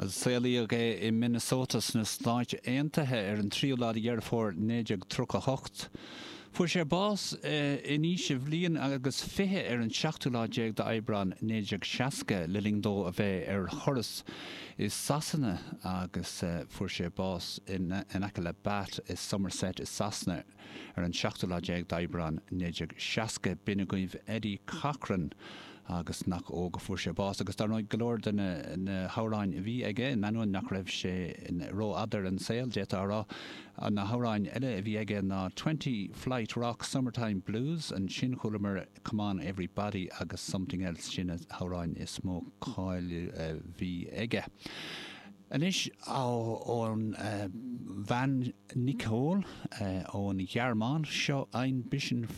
Saolaíodh é i Minnesota sna Stáit Aontaithe ar an tríú lá de Dheireadh Fómhair 1938. Fuair sé bás in aois a bhliain agus 20 ar an seachtú lá déag d'Aibreán 1960 le linn dó a bheith ar thuras i Sasana agus fuair sé bás in aice le Bath i Somerset i Sasana ar an seachtú lá déag d'Aibreán 1960. B'in agaibh Eddie Cochran agus nach óg a fuair sé bás agus dar ndóigh go leor de na hamhráin a bhí aige, in ainneoin nach raibh sé rófhada ar an saol, d'fhéadfá a rá. Na hamhráin eile a bhí aige ná Twenty Flight Rock, Summertime Blues, ansin chualamar Come On Everybody agus Something Else, sin na hamhráin is mó cáil a bhí aige. Anois ón bhean Nicole ón Ghearmáin, seo Ein bisschen.